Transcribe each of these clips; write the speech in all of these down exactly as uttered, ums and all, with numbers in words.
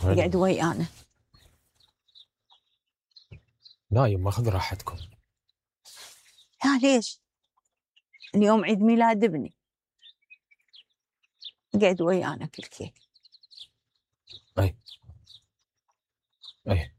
وين؟ يقعد ويانا. نايم، ماخذ راحتكم. لا ليش؟ اليوم عيد ميلاد ابني، قعد ويانا في الكيك. اي اي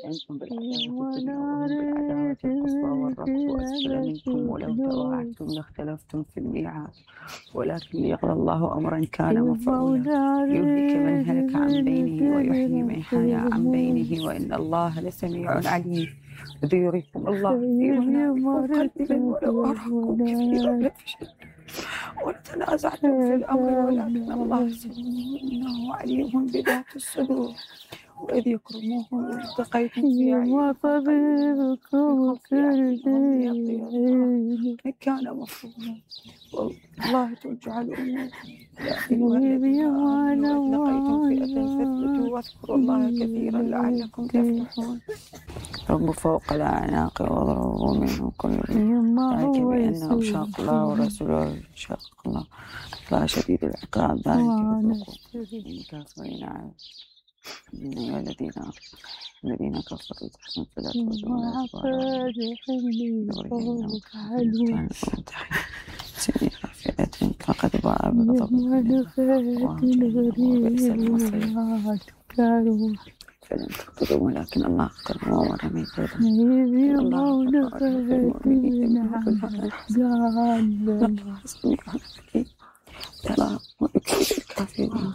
أنتم بالحياة الدنيا وهم بالعداوة القصوى والرفض وأسفل منكم ولو تواعدتم لاختلفتم في الميعاد ولكن ليقضى الله أمرا كان مفعولا يهلك من هلك عن بينه ويحيي من حي عن بينه وإن الله لسميع عليم. إذ يريكم الله في منامكم قليلا ولو أراكم كثيرا لفشلتم وتنازعتم في الأمر ولكن الله سميع إنه عليم بذات الصدور. وإذ يكرموهم التقيتم في أعينكم كان مفروضا والله ترجع الأمور. يا أيها الذين آمنوا إذ لقيتم فئة فاثبتوا واذكروا الله كثيرا لعلكم تفلحون. رب فوق الأعناق واضربوا منهم كل ذلك بأنهم شاقوا الله ورسوله شاق الله الله شديد العقاب ذلك بذوقوا الكافرين على يا الذين الذين كفروا تحسن فلا تؤذون سنين فئة فقد باء بغضب وبئس المصير فلم تقتلوا ولكن الله قتل ورمي الله الله سميع عليم. ترى ويكفي الكافرين.